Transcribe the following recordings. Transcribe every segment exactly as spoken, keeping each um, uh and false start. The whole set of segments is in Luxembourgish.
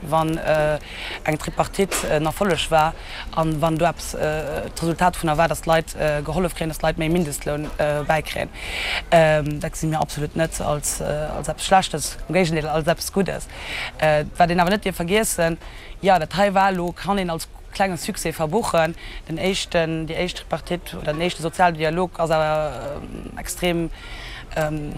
Wann eng Tripartite en Erfolleg war an wann do eppes d'Resultat dovunner war, datt d'Leit gehollef kréien, datt d'Leit méi Mindestloun bäikréien, dat gesi mir absolut net als eppes Schlechtes, am Géigendeel, als eppes Guddes. Wat een awer net dierf vergiessen, jo, dat hei war elo, kann een als klenge Succès verbuchen, den éischten, déi éischt Tripartite oder den éischte Sozialdialog ass awer extrem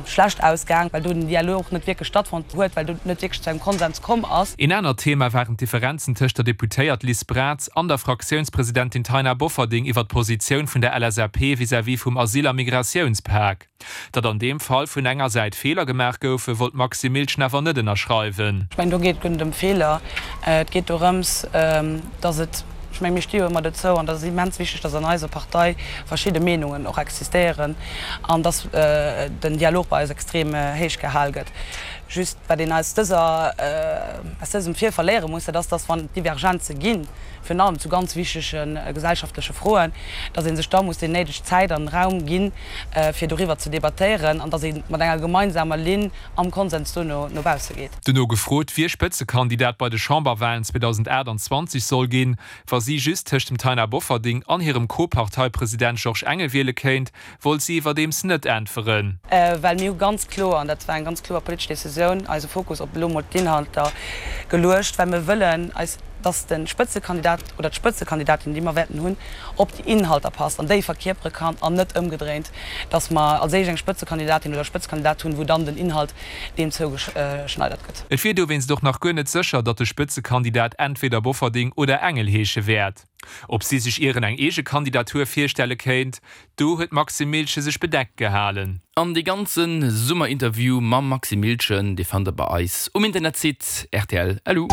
schlecht ausgaang, well do den Dialog net wierklech stattfonnt huet, well do net wierklech zu engem Konsens komm ass. Een anert Thema waren d'Differenzen tëscht der Deputéiert Liz Braz an der Fraktiounspresidentin Taina Bofferding iwwer d'Positioun vun der L S A P vis-à-vis vum Asyl a Migratiounspak. Datt an deem Fall vun enger Säit Feeler gemaach goufen, wollt d'Maxime Miltgen awer net ënnerschreiwen. Ech mengen, do geet et guer net ëm Feeler. Et geet dorëms, datt et, ech mengen, mir sti jo ëmmer dozou, an dat ass immens wichteg, datt an eiser Partei verschidde Meenungen och existéieren an datt den Dialog bei eis extrem héich gehal gëtt. Just, wat een aus dëser, aus dësem Virfall léiere muss, dat ass, datt wann et Divergenze ginn, virun allem zu ganz wichtege gesellschaftleche Froen, datt ee sech da muss déi néideg Zäit an Raum ginn, fir doriwwer ze debattéieren an datt ee mat enger gemeinsamer Linn am Konsens dono no bausse geet. Dono gefrot, wie Spëtzekandidat bei de Chamberwalen zweedausendaachtanzwanzeg soll ginn, wa si just tëscht dem Taina Bofferding an hirem Co-Parteipresident Georges Engel wiele kéint, wollt si iwwerdeems net äntweren. Well mir hu ganz kloer, an dat war eng ganz kloer politesch Decisioun, eise Fokus op elo mol d'Inhalter geluecht, well mir wëllen eis, dass de Spëtzekandidat oder d'Spëtzekandidatin, déi mer wäerten hunn, op déi Inhalter passt an déi verkierpere kann an net ëmgedréint, dass mer als éischt eng Spëtzekandidatin oder e Spëtzekandidat hunn, wou dann den Inhalt deem zougeschneidert gëtt. Et wier dowéinst och nach guer net sécher, datt de Spëtzekandidat entweder Bofferding oder Engel heesche wäert. Ob si sech ieren eng eege Kandidatur virstelle kéint, do huet d'Maxime Miltgen sech bedeckt gehalen. An dee ganze Summerinterview mam Maxime Miltgen, dee fannt der bei eis um Internetsite rtl. Lu.